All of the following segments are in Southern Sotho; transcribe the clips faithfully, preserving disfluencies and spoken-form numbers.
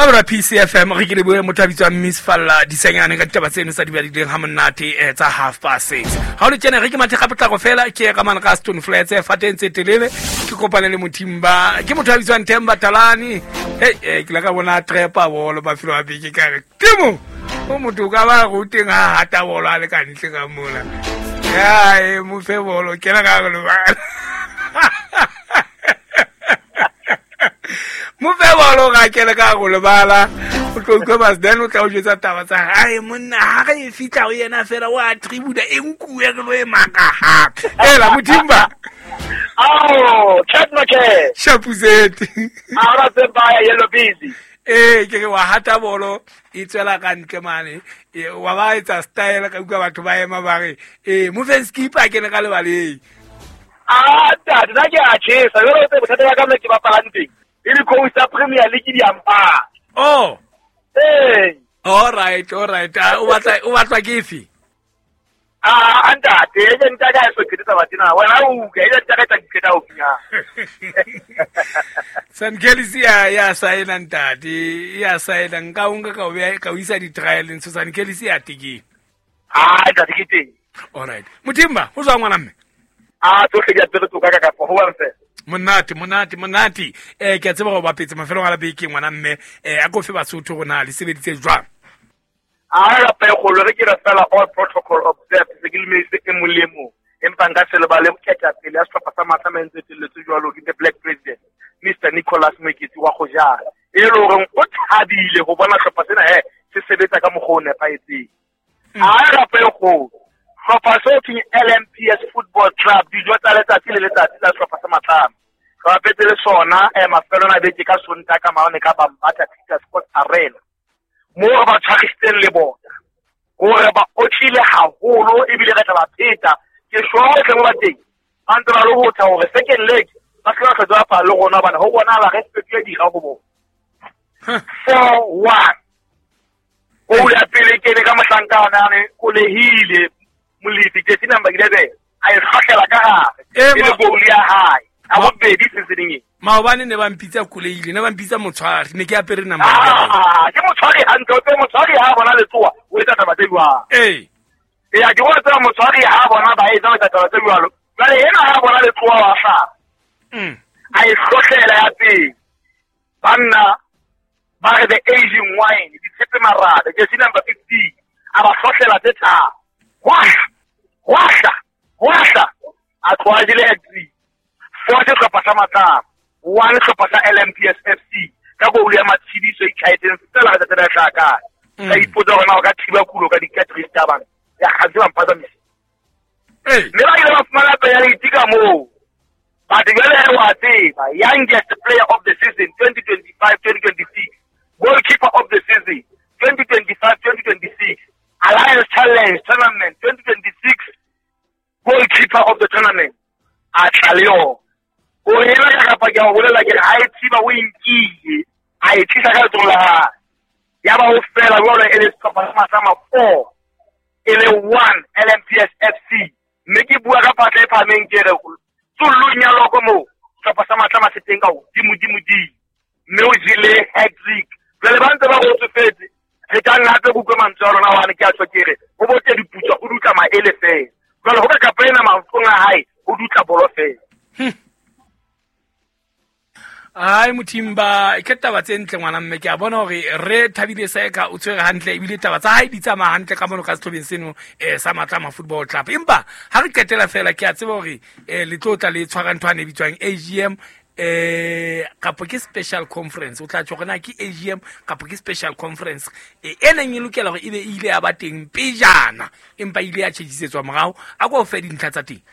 Mamela P C F M re ke le bue motho a bitswang Miss Falla Disenyane ka ditaba tseno tsa di badileng ha monate eh, tsa half past six. Ha o le tjena re ke mathe ka potlako fela ke ka mane ka Stone Flats eh, fateng tse telele ke kopane le Mothimba ke motho a bitswang Themba Talani. Hey eh, ke la ka bona trepa bolo mafelo a beke ka re Timo o motho o ka ba ruteng ha hata bolo a le ka ntle ka mona. Ya e mo fe bolo kena ka re lebala. Mo fe bolo ga ke le ka go lebala o tlo utlwa bas then o tla o jwetsa taba tsa hae monna ha re e fihla ho yena fela wa attribute e nkuwe re lo e maka hape ela Mothimba. Oh, chat make. Shapuzeti. Ara tse baya yellow busy. Eh ke re wa hata bolo e tswela ka ntle mane wa ba etsa style ka utlwa batho ba ema ba re eh mo fe skipper ke ne ka lebaleng. Ah, tata nna ke a tjhesa jwale o tsebe bothata ba ka mme ke bapalang teng. E le coach tsa Premier League di ampa. Oh. Eh. All right, all right. O batla o batla ke efe? Ah, ntate, e ke ntate a so qetsa batina. Wena o utlwa, e ntate ka qeta o finya. San Kelly ya ya saena ntate, ya saena nka o nka ka o beha ka o isa di trial ntse San Kelly ya tiki. Ah, ntate ke teng. All right. Mothimba, o tswa ngwana mme? Ah, tsohle di a pere toka ka ka ho wa mfe. Monate, monate, monate. Eh ke a tseba go bapetse mafelong a la beke ngwana mme eh a ko fe Basotho go na le sebeditse jwang. A ra pe go re ke re fela all protocol observed se ke le e molemo empa nka se lebale ketapele ya sehlopha sa Matlama e ntse telletse jwalo ke the Black President Mister Nicholas Moeketsi wa Gojana e le hore o thabile go bona hlopha sena he se sebetsa ka mokgwa o nepahetseng. A ra pe go hlopha seo ke L M P S Football Club dijo tsa letsatsi le letsatsi tsa sehlopha sa Matlama re bapetse le sona eh mafelong a beke ka Sontaha ka maone ka Bambata Peter Sports Arena mo re ba tshwarisitseng le bona gore ba otlile haholo ebile re tla ba pheta ke sure tle mo ba teng ba ntse ba le ho tla hore second leg ba tla hlotse ba phala le rona bana ho bonahala re fetohe dira ho bona four one o ya pele ke ne ka mohlankana ne kolehile Molefi jersey number eleven a e hlahlela ka hare e le goal ya hae a bobedi seasoning e maobane ne ba mpitsa kolehile ne ba mpitsa motshwari ne ke apere number ah ke motshwari hantle o tse motshwari ha bona letsoa o etsa taba tse jwang eh ya ke bona tsela motshwari ha bona ba etsa taba tse jwalo jwale ena ha bona letsoa wa hlaha mm a e hlohlela ya pele banna ba re the aging wine ditshepe marabe jersey number fifteen a ba hlohlela tse tharo hwahla hwahla hwahla a tloa jele hat-trick four sehlopha sa Matlama one sehlopha sa L M P S F C ka goal ya Matshidiso e itlhaetseng fela ka tsela ya hlaka ka ipotsa hore na o ka thiba kulo ka di-cartridge tsa bana ya kgantse ba mphazamise mme ba ile ba fumana penalty ka moo but jwale wa tseba youngest player of the season twenty twenty-five twenty twenty-six goalkeeper of the season twenty twenty-five twenty twenty-six Alliance Challenge Tournament twenty twenty-six goalkeeper of the tournament a tla le yona o ena ka kapa ke a bolela ke ha e thiba o nkile a e tlisa ka letsoho la hae ya ba ho fela jwalo e le sehlopha sa Matlama four e le one L M P S F C mme ke bua ka patla e phahameng ke re tsollong ya loko moo sehlopha sa Matlama se teng ka hodimo dimo dimo mme o jele hat-trick jwale ba ntse ba go tsofetse re ka nna hape kutlwe mantswe a lona hobane ke a tjho ke re ho bote diputswa o dutla maele fela jwale ho ka kapa ena maotong a hae o dutla bolo fela. Ai Mothimba ke taba tse ntle ngwana mme ke a bona hore re thabile Seka o tshwere hantle ebile taba tsa hae di tsamaya hantle ka mono ka sehlobeng seno eh sa Matlama Football Club empa ha re qetela fela ke a tseba hore eh le tlo tla le tshwara ntho ane e bitswang A G M eh kapo ke special conference o tla tjho hore na ke A G M kapo ke special conference e neng e lokela hore ebe e ile ya ba teng pejana empa ile ya tjhejisetswa morao a ko fe dintlha tsa teng.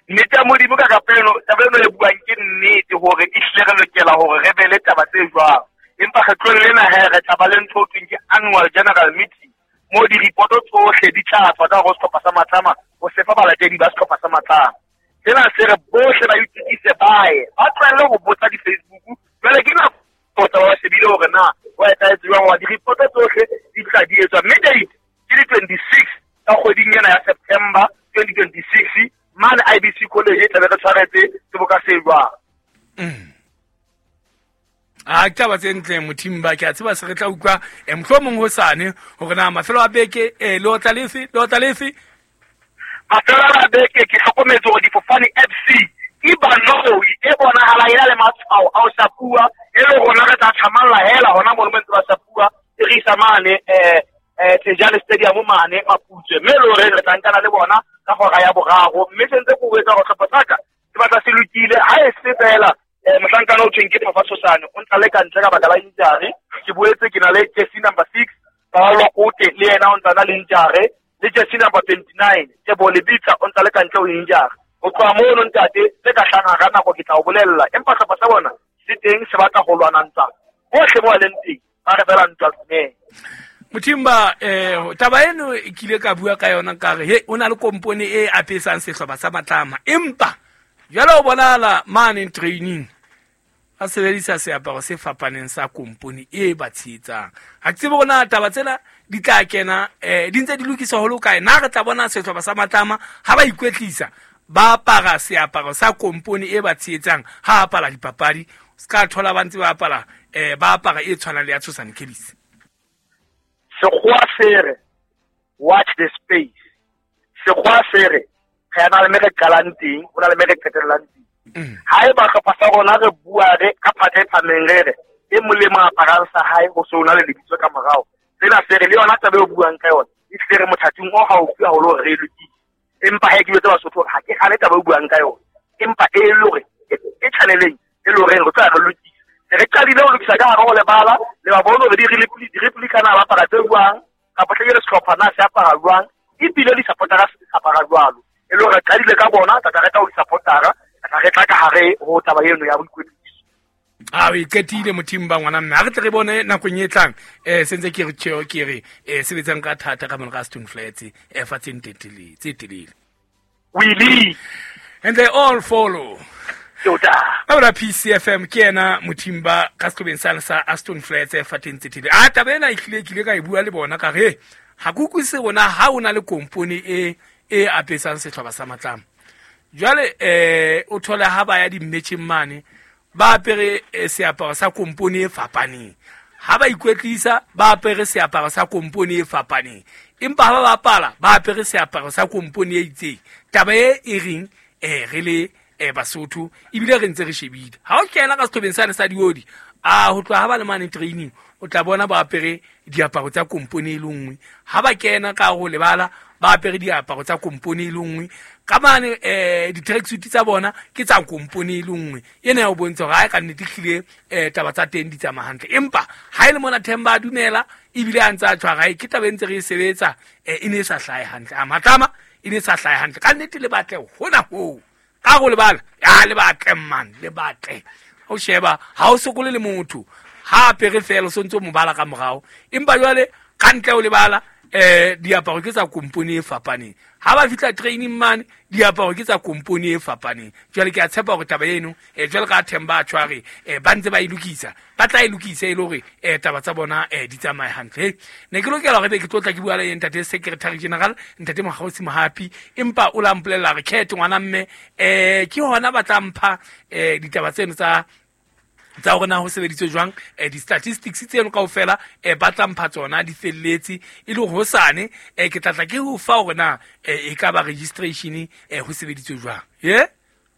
Nnete ya Modimo ka kapelo taba eno e buang ke nnete hore e hlile re lokela hore re be le taba tse jwang empa kgetlong lena he re tla ba le ntho ho thweng ke annual general meeting mo di-reporto tsohle di tla tswa ka hare ho sehlopha sa Matlama ho sefa balatedi ba sehlopha sa Matlama. Sena se re bohle ba itokise baye ba tlohelle ho botsa di-Facebook jwale ke nako tsa ba shebile hore na ho etsahetse jwang hoba di-reporto tsohle di tla di etswa mme date ke di twenty-six ka kgweding ena ya September twenty twenty-six mane I B C College e tlabe re tshwaretse seboka se jwang. A ke taba tse ntle Mothimba, ke a tseba se re tla utlwa eh mohlomong hosane hore na mafelo a beke eh le otla lefe le otla lefe. Mafelo a beke ke hlokometse hore difofane F C e banoi e bonahala e na le matshwao a ho shapuwa, e le rona re tla thamalla hela hona mono mo ntse ba shapuwa e re isa mane eh eh Tejane Stadium mane Maputswe, mme le hore re tla nkana le bona ka hora ya boraro. Mme se ntse ke o etsa hore hlopha sa ka se batla se lokile ha e se fela eh mohlankana o thweng ke Papa Tshosane o ntsa le ka ntle ka baka la injury. Ke boetse ke na le jersey number six Paolo Kote le yena o ntsa na le injury, le jersey number twenty-nine Tebo Lebitsa o ntsa le ka ntle o injury. Ho tloha mono ntate tse ka hlanga ka nako ke tla o bolella, empa hlopha sa bona se teng se batla ho lwana ntwa hohle mo a leng teng, ba re fela ntwa tsene. Mothimba eh taba eno ke ile ka bua ka yona ka re he o na le kompone e apesang sehlopha sa Matlama, empa jwale o bonahala mane training a sebedisa seaparo se fapaneng sa kompone e ba tshehetsang. Ha ke tsebe hore na taba tsena di tla kena eh di ntse di lokiswa ho le kae. Na re tla bona sehlopha sa Matlama ha ba ikwetlisa ba apara seaparo sa kompone e ba tshehetsang ha apara dipapadi, se ka thola ba ntse ba apara eh ba apara e tshwanang le ya Tshosane Kellis. Sekgowa se re watch the space. Sekgowa se re re na le me re qalang teng, ho na le me re qetellang teng. Ha eba hlopha sa rona re bua re ka phatla e phameng re re e molemo aparang sa hae ho se o na le lebitso ka morao. Sena se re le yona taba eo buang ka yona e tle re mothating o haufi haholo hore re e lokise. Empa ha ke jwetse Basotho hore ha ke hane taba eo buang ka yona, empa e le hore e channeleng e le hore re tla re lokisa. Re qadile ho lokisa ka hare ho lebala le ba bone hore di-replica na ba apara tse jwang kapa hlekele sehlopha na se apara jwang, ebile di-supportera se apara jwalo. E le hore re qadile ka bona tata re tla ho di-supportera re tla ka hare ho taba eno ya boikwetliso. A o iqetile Mothimba ngwana mme, ha re tle re bone nakong e tlang eh sentse ke re tjeo ke re eh sebetsang ka thata ka mona ka Stone Flats eh fatseng telele tse telele. We lead and they all follow. Tota. Ka P C F M ke yena Mothimba ka sehlobeng sa sa Aston Flats e fateng tse telele. A taba ena e hlile ke ile ka e bua le bona ka re ha ke utlwisise rona ha o na le kompone e e apesang sehlopha sa Matlama. Jwale eh o thola ha ba ya di-matching mane ba apere seaparo sa kompone e fapaneng, ha ba ikwetlisa ba apere seaparo sa kompone e fapaneng, empa ha ba bapala ba apere seaparo sa kompone e itseng. Taba e e reng eh re le eh Basotho ebile re ntse re shebile. Ha o kena ka sehlobeng sane sa diodi a ho tloha ha ba le mane training o tla bona ba apere diaparo tsa kompone e le nngwe, ha ba kena ka ho lebala ba apere diaparo tsa kompone e le nngwe, ka mane eh di-tracksuit tsa bona ke tsa kompone e le nngwe. Ena ya o bontsha hore ha ka nnete hlile eh taba tsa teng di tsamaya hantle, empa ha e le mona Themba a dumela ebile a ntse a tshwara ke taba e ntse re e sebetsa eh e ne e sa hlahe hantle. A Matlama e ne e sa hlahe hantle ka nnete, le batle hona hoo ka go lebala ya le batle man le batle o sheba ha o sokole le motho ha apere fela o sontse o mo bala ka morao, empa jwale ka ntle o lebala eh diaparo ke tsa kompone e fapaneng, ha ba fihla training mane diaparo ke tsa kompone e fapaneng. Jwale ke a tshepa hore taba eno eh jwale ka Themba a tshware eh ba ntse ba e lokisa, ba tla e lokisa e le hore eh taba tsa bona eh di tsamaye hantle. Ne ke lokela hore be ke tlotla ke bua le ntate secretary general ntate Mokgaosi Mohapi, empa o la mpolella re khethe ngwana mme eh ke hona ba tla mpha eh ditaba tseno tsa tsa hore na ho sebeditswe jwang eh di-statistics tseno kaofela eh ba tla mpha tsona di felletse e le hosane eh ke tla tla ke ho fa hore na e ka ba registration eh ho sebeditswe jwang. Ye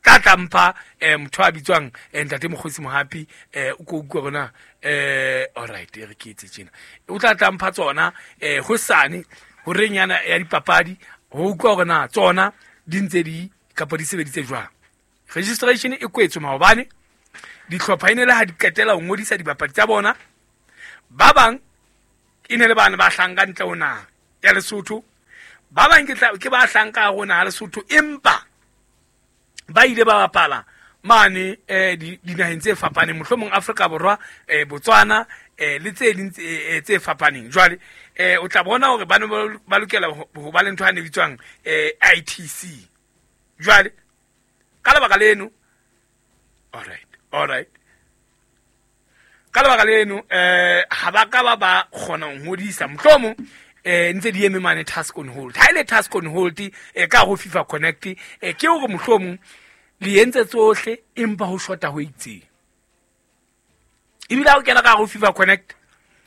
tla tla mpha eh motho a bitswang ntate Mokgosi Mohapi eh o ko utlwa hore na eh all right e re ke etse tjena, o tla tla mpha tsona eh hosane horeng yana ya dipapadi ho utlwa hore na tsona di ntse di kapa di sebeditse jwang. Registration e kwetswe maobane, dihlopha e ne le ha di qetela ho ngodisa dibapadi tsa bona, ba bang e ne le bana ba hlanka ntle ho naha ya Lesotho, ba bang ke ke ba hlanka ho naha Lesotho empa ba ile ba bapala mane eh dinaheng tse fapaneng, mohlomong Afrika Borwa eh Botswana eh le tse ding tse fapaneng. Jwale eh o tla bona hore ba ne ba lokela ho ba le ntho e bitswang eh I T C. Jwale ka lebaka leno all right all right ka lebaka leno eh ha ba ka ba ba kgona ho ngodisa, mohlomong eh ntse di eme mane task on hold. Ha ile task on hold e ka ho FIFA Connect eh ke hore mohlomong le entse tsohle empa ho shota ho itseng. Ebile ha o kena ka hare ho FIFA Connect,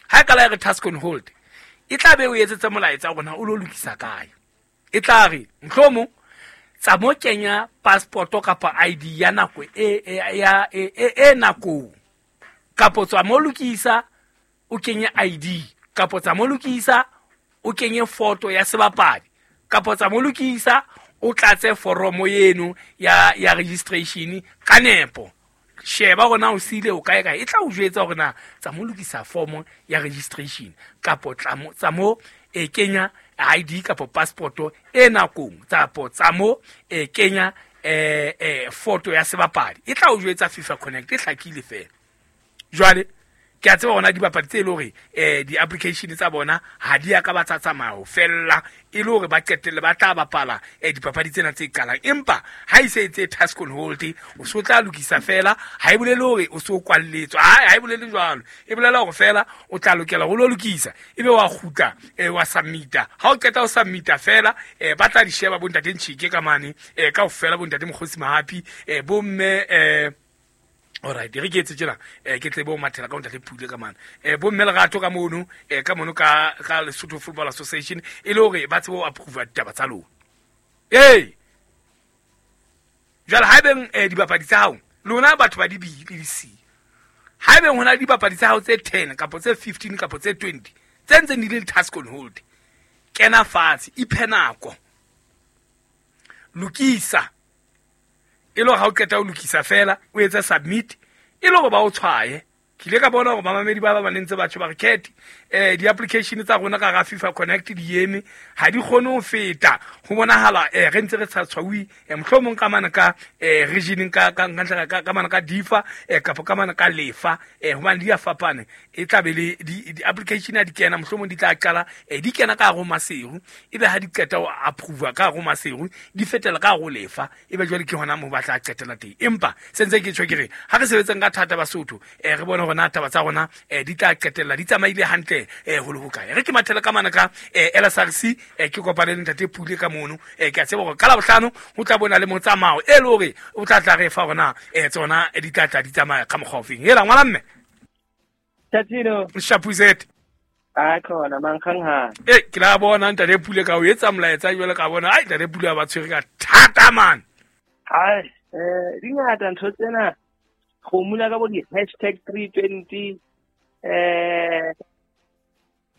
ha e kala ya re task on hold, e tla be o etsetsa molaetsa hore na o lo lokisa kae. E tla re mohlomong tsa mo kenya passport kapa I D ya nako e ya e e nako, kapo tswa mo lokisa o kenye I D, kapo tsa mo lokisa o kenye photo ya sebapadi, kapo tsa mo lokisa o tlatse foromo eno ya ya registration ka nepo. Sheba hore na o sile o kae kae, e tla o jwetsa hore na tsa mo lokisa form ya registration kapo tsa mo e kenya I D kapo passport e nakong, tsapo tsa mo e kenya eh eh photo ya sebapadi. E tla o jwetsa FIFA Connect, e hlakile fela. Jwale ke a tseba hona dibapadi tse le hore eh di-application tsa bona ha di ya ka ba tsa tsamaya ho fella, e le hore ba qetelle ba tla bapala eh dipapadi tsena tse qalang. Empa ha e se etse task on hold, o so tla lokisa fela, ha e bolele hore o so kwalletswe, ha e bolele jwalo, e bolela hore fela o tla lokela ho lo lokisa, ebe wa kgutla eh wa submita. Ha o qeta ho submita fela, eh ba tla di sheba bo ntate Ntshike ka mane, eh kaofela bo ntate Mokgosi Mahapi, eh bo mme eh alright, re ke etse tjena, eh ke tle bo mathela ka ntate Pule ka mane, eh bo mme Lerato ka mono, eh ka mono ka ka Lesotho Football Association, e le hore ba tsebe ho approve ditaba tsa lona. Hey, jwale haebeng eh dibapadi tsa hao lona batho ba di B le di C, haebeng hona dibapadi tsa hao tse ten kapa tse fifteen kapa tse twenty tse ntseng di le task on hold, kena fatshe, iphe nako, lokisa. E le hore ha o qeta ho lokisa fela, o etsa submit, e le hore ba o tshwaye. Ke ile ka bona hore bamamedi ba ba ba ntse ba tjho ba re Cat, eh di-application tsa rona ka hara FIFA Connect di eme, ha di kgone ho feta. Ho bonahala eh re ntse re sa tshwauwe, eh mohlomong ka mane ka eh region ka ka ka ka mane ka D I F A, eh kapa ka mane ka Lefa, eh hobane di a fapana. E tla be le di-application ha di kena, mohlomong di tla qala eh di kena ka hare ho Maseru, ebe ha di qeta ho approve ka hare ho Maseru, di fetela ka hare ho Lefa, ebe jwale ke hona moo ba tla qetela teng. Empa se ntse ke tjho ke re ha re sebetseng ka thata Basotho, eh re bone hore na taba tsa rona eh di tla qetella di tsamaile hantle eh ho le hokae. Re ke mathela ka mana ka eh L S R C, eh ke kopane le ntate Pule ka mono, eh ke a tseba hore ka Labohlano ho tla bona le motsamao e le hore o tla tla re fa hore eh tsona di tla tla di tsamaya ka mokgwa ofeng. Hela ngwana mme Tatino Shapuzet a khona mankgang ha eh ke la bona ntate Pule ka o etsa molaetsa jwale ka bona ai ntate Pule ba tshwere ka thata man. Hai eh di ngata ntho tsena, go mula ka bo di hashtag three twenty, eh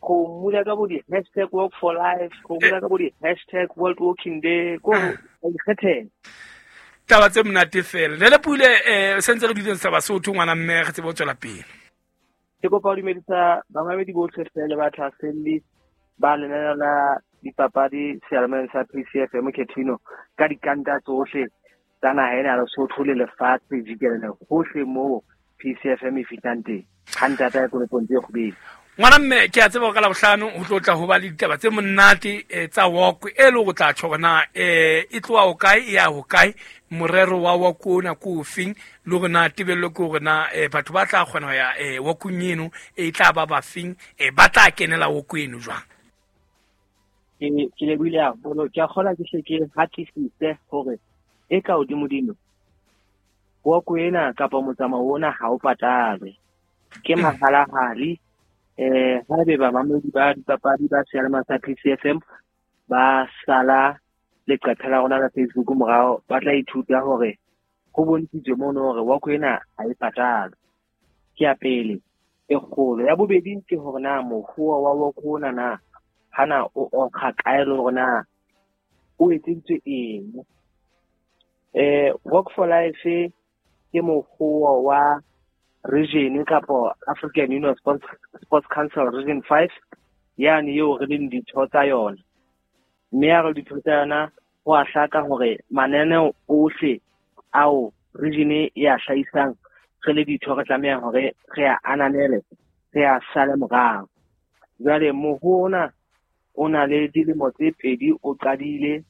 go mula ka bo di hashtag work for life, go mula ka bo di hashtag World Walking Day, go ikgethela taba tse monate fela. Le le Pule eh sentse re duleng sa Basotho ngwana mme re tsebe ho tswela pele. Ke kopa ho dumedisa bamamedi bohle fela ba thahaselli ba lenaneo la dipapadi seyalemoyeng sa P C F M Ketino ka dikanta tsohle tsa naha ena ya Lesotho le lefatshe jikelele hohle moo P C F M e fihlang teng. Ha ntata ya kolepong tse kgubedi. Ngwana mme ke a tseba hore ka Labohlano ho tlo tla ho ba le ditaba tse monate tsa walk, e le hore tla tjho hore na eh e tloha ho kae e ya ho kae, morero wa walk ona ke ofeng, le hore na tebello ke hore na batho ba tla kgona ho ya eh walkong eno e tla ba bafeng, eh ba tla kenela walk eno jwang. Ke ke lebohile haholo, ke a kgolwa ke hle ke hatisise hore e ka hodimodimo walk ena kapa motsamao ona ha o patalwe, ke mahalahali. Eh haebe bamamedi ba dipapadi ba seyalemoya sa P C F M ba sala leqephe la rona la Facebook morao, ba tla ithuta hore ho bontshitswe mono hore walk ena ha e patalwe. Ke ya pele e kgolo. Ya bobedi ke hore na mokgwa wa walk ona na hana o okga kae le hore na o etseditswe eng. Eh Work for Life ke mokgwa wa region kapa African Union Sports, Sports Council Region five, yani eo re leng ditho tsa yona. Mme ha re ditho tsa yona, ho a hlaka hore mananeo ohle ao region e a hlahisang re le ditho re tlameha hore re a ananele, re a sale morao. Jwale moho ona o na le dilemo tse pedi o qadile,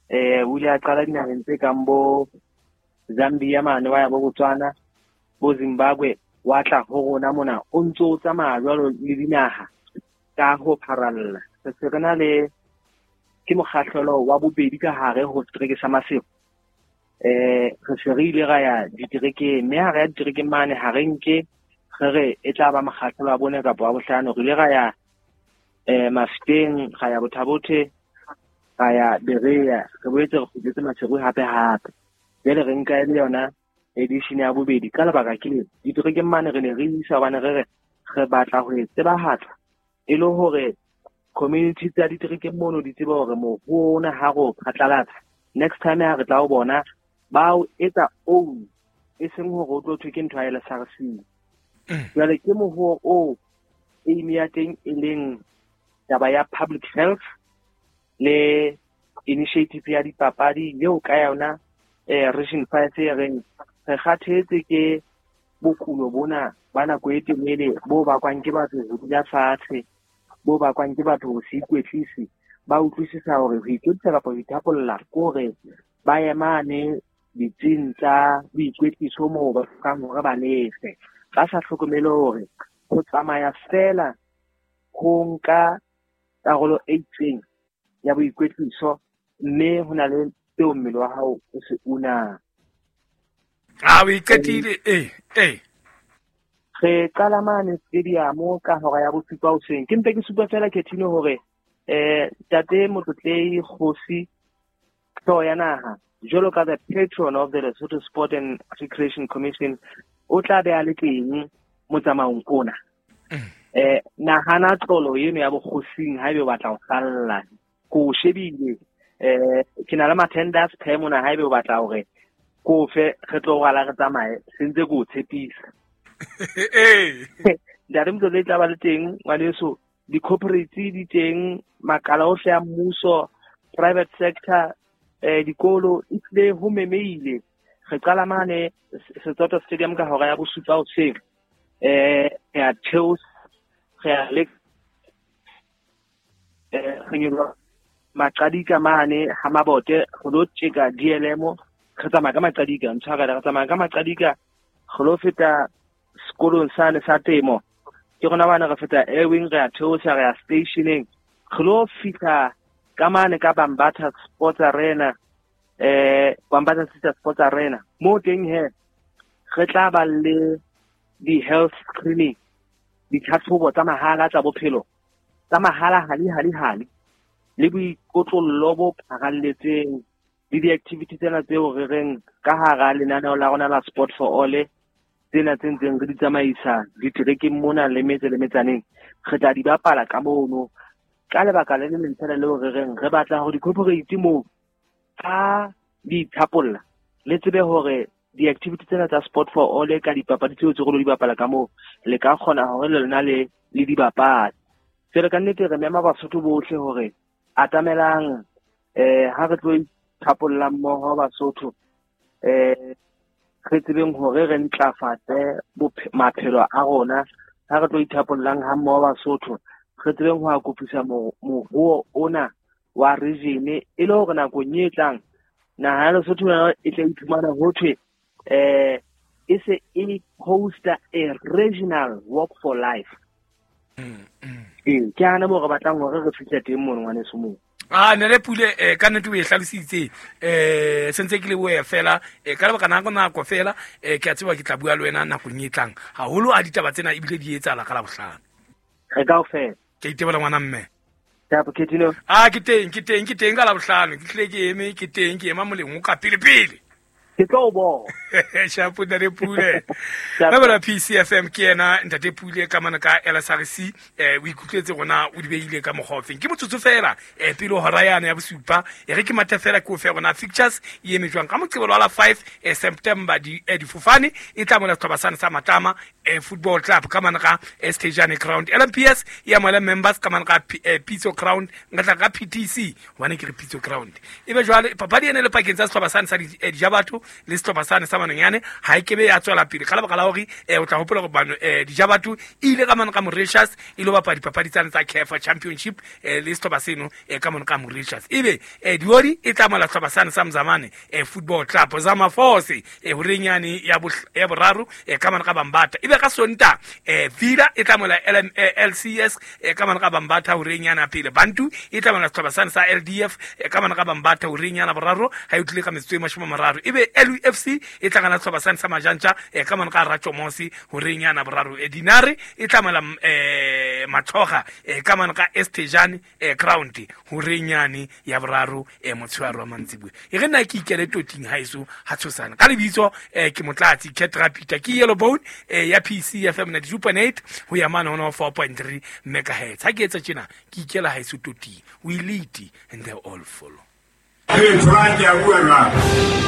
eh o ile a qala dinaheng tse kang bo Zambia mane, wa ya bo Botswana, bo Zimbabwe, wa tla ho rona mona, o ntso o tsamaya jwalo le dinaha ka ho pharalla. Re se re na le ke mokgahlelo wa bobedi ka hare ho setereke sa Maseru. Eh re se re ile ra ya diterekeng, mme ha re ya diterekeng mane ha re nke Re re e tla ba mokgahlelo wa bone kapa wa bohlano. Re ile ra ya eh Mafeteng, ra ya Bothabothe, ra ya Berea, re boetse re kgutletse Maseru hape hape. Jwale re nka e le yona edition ya bobedi ka lebaka ke le diterekeng mane re ne re isa hobane re re re batla ho e tsebahatsa e le hore community tsa diterekeng mono di tsebe hore moruo ona ha re o phatlalatsa next time ha re tla o bona ba o etsa own, e seng hore o tlo thwe ke ntho ya L S R C. Jwale ke moruo o aim ya teng e leng taba ya public health le initiative ya dipapadi eo ka yona eh Region five e reng re kgathetse ke bokulo bona ba nako e telele bo bakwang ke batho ho dula fatshe, bo bakwang ke batho ho se ikwetlise. Ba utlwisisa hore ho ikwetlisa kapa ho ithapolla ke hore ba emane ditsing tsa boikwetliso moo ba hlokang hore ba lefe, ba sa hlokomele hore ho tsamaya fela ho nka karolo e itseng ya boikwetliso, mme ho na le seo mmele wa hao o se unang. A o iqetile? Eh eh Re qala mane stadium ka hora ya bosupa hoseng. Ke mpe ke supa fela Khethino hore eh Ntate Motlotlei Kgosi Hlooho ya Naha jwalo ka the patron of the Lesotho Sport and Recreation Commission o tla be a le teng motsamaong ona. Eh nahana tlolo eno ya bokgosing haebe o batla ho salla. Ko shebile eh ke na le ma-tenders phe mona haebe o batla hore ko fe re tlo rwala re tsamaye sentse ko tshepisa. Eh Ntate Motlotlei tla ba le teng ngwaneso, di-corporate di teng, makala ohle a mmuso, private sector, eh dikolo ehlile ho memeile. Re qala mane Setsoto Stadium ka hora ya bosupa hoseng. Eh re a theosa, re a le eh re nyoloha Maqadika mane ha Mabote re lo tjeka D L M, re tsamaya ka Maqadika, ntshwarela, re tsamaya ka Maqadika re lo feta sekolong sane sa temo. Ke rona bana re feta Airwing, re a theosa, re ya stationeng, re lo fihla ka mane ka Bambatha Sports Arena, eh Bambatha City Sports Arena. Mo teng he re tla ba le di-health screening, ditlhatlhobo tsa mahala tsa bophelo tsa mahala hali hali hali, le boikotlollo bo pharalletseng le di-activity tsena tseo re reng ka hara lenaneo la rona la Sport for All, tsena tse ntseng re di tsamaisa diterekeng mona le metse le metsaneng, re tla di bapala ka mono. Ka lebaka le leng fela leo re reng re batla hore di-corporate moo ha di ithapolla le tsebe hore di-activity tsena tsa Sport for All ka dipapadi tseo tse re lo di bapala ka moo le ka kgona hore le lona le le di bapale. Jwale ka nnete re mema Basotho bohle hore atamelang eh ha re tlo ithapolla mmoho Basotho, eh re tsebeng hore re ntlafatse maphelo a rona. Ha re tlo ithapollang ha mmoho Basotho, re tsebeng ho akofisa moruo ona wa region e le hore nakong e tlang naha ya Lesotho e tla iphumana ho thwe eh e se e hosta a regional walk for life. Ee, ke hana moo re batlang hore re fihle teng mono ngwaneso moo. Ah ne le pule eh ka nnete o e hlalositse eh sentse ke le boe fela eh ka lebaka nako nako fela eh ke a tseba ke tla bua le wena nakong e tlang haholo a ditaba tsena ebile di etsahala ka Labohlano. Re kaofela. Ke itebola ngwana mme. Tapo Khethino. Ah ke teng ke teng ke teng ka Labohlano ke tlile ke eme ke teng ke ema moleng o ka pele pele. Ke tlo o bona. Shapo Ntate Pule. Ba P C F M ke yena Ntate Pule ka mana ka L S R C eh o ikutlwetse rona o di beile ka mokgwa ofeng. Ke motsotso fela eh pele hora yana ya bosupa e re ke mathe fela ke o fe rona fixtures e eme jwang ka Moqebelo wa la five eh September di eh, difofane e tla mona setlhopha sane sa Matlama eh, Football Club ka mana ka Stejane Ground. L M P S e amohela members ka mana ka eh, Pitso Ground ngatla ka P T C hobane ke re Pitso Ground. Ebe jwale papadi ene le pakeng tsa setlhopha sane sa Dijabatho le setlhopha sane sa Manonyane ha e kebe ya tswela pele ka lebaka la hore eh o tla hopola hore bano eh Dijabatho ile ka mane ka Mauritius e lo bapala dipapadi tsane tsa C A F Championship eh le setlhopha seno eh ka mane ka Mauritius. Ebe eh Diori e tla mola setlhopha sane sa Mzamane eh Football Club Zama Force eh horenyane ya ya boraro eh ka mane ka Bambata. Ebe ka Sonta eh Villa e tla mola L C S eh ka mane ka Bambata horenyana pele. Bantu e tla mola setlhopha sane sa L D F eh ka mane ka Bambata horenyana boraro ha e utlile ka metsotso e mashome a mararo. Ebe L U F C e tlangana sehlopha sane sa Majantja eh, ka mane ka Ratšomosi horeng yana boraro. Eh, Dinare e tlamela eh, Matlhoga eh, ka mane ka Estejane eh, ground horeng yane ya boraro eh, motshehare wa mantsibuya. E re nna ke ikele toting haeso ha tshosana ka lebitso eh, ke Motlatsi Cat Rapita ke Yellow Bone eh, ya P C F M ninety-two point eight ho ya mane ho four point three megahertz. Ha ke etsa tjena ke ikela haeso toting. We lead and they all follow. Hey, Frank, ya bua jwang?